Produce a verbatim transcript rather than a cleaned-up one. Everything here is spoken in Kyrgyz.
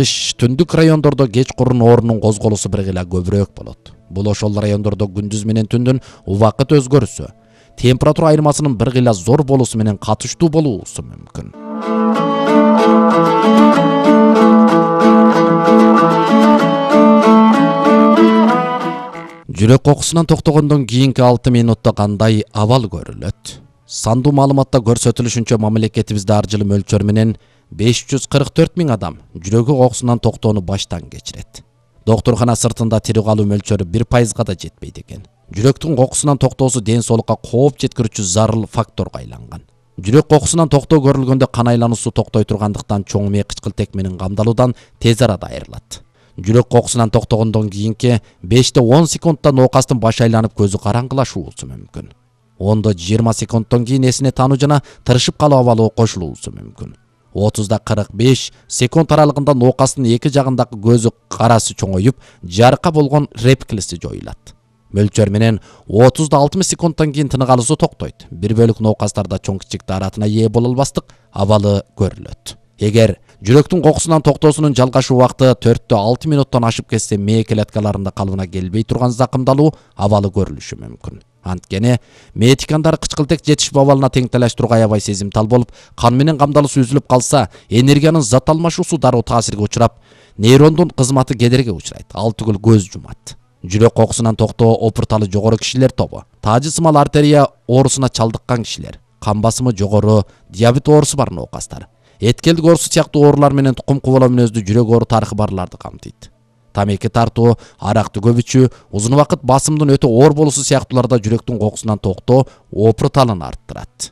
Түндүк райондордо кеч курун оорунун козголусу бир гыла көбүрөөк болот. Бул ошол райондордо күндүз менен түндүн убакыт өзгөрүсү, температура айырмасынын бир гыла зор болуусу менен катыштуу болуусу мүмкүн. Жүрөк кокусунан токтогондон кийинки алты минутта кандай абал көрүлөт? Сандуу маалыматта көрсөтүлүшүнчө мамлекетибизде ар жылы мөлчөр менен беш жүз кырк төрт миң адам жүрөгү кокусунан токтоону баштан кечирет. Доктуркана сыртында тирүү калуу мөлчөрү бир пайызга да жетпейт экен. Жүрөктүн кокусунан токтоосу ден соолукка кооп жеткирүүчү зарыл факторго айланган. Жүрөк кокусунан токтоо көрүлгөндө кан айлануусу токтой тургандыктан чоң мээ кычкылтек менен камдалуудан тез арада айрылат. Жүрөк кокусунан токтогондон кийинки беште он секундта ноокастын башы айланып көзү караңгылашуусу мүмкүн. онда жыйырма секундтон кийин эсине таануу жана тырышып калуу абалы кошулуусу мүмкүн. отузда кырк беш секунд аралыгында ноокастын эки жагындагы көзү карасы чоңоюп, жарыка болгон рефлекси жоюлат. Мөлчөр менен отузда алтымыш секундтан кийин тынык алуусу токтойт. Бир бөлүк ноокастарда чоң кичик даратына ээ боло албастык абалы көрүлөт. Эгер жүрөктүн кокусунан токтоосунун жалгашуу убакыты төрттө алты минуттан ашып кетсе, мээ клеткаларында калыбына келбей турган закымдалуу абалы көрүлүшү мүмкүн. Анткени мээ тикандары кычкылтек жетишпөө абалына тең талаштырууга аябай сезимтал болуп, кан менен камдалуусу үзүлүп калса, энергиянын зат алмашуусу дароо таасирге учурап, нейрондун кызматы кедерге учурайт, ал түгүл көз жумат. Жүрөк кокусунан токтоо опурталы жогору кишилер тобу, таажы сымал артерия оорусуна чалдыккан кишилер, кан басымы жогору, диабет оорусу бар ноокастар, эткелдик оорусу сыяктуу оорулар менен тукум кубулуу мүнөздүү жүрөк оору тарыхы барларды камтыйт. Тамеки тартуу, аракты көп ичүү, узун убакыт басымдын өтө оор болуусу сыяктууларда жүрөктүн кокусунан токтоо опурталын арттырат.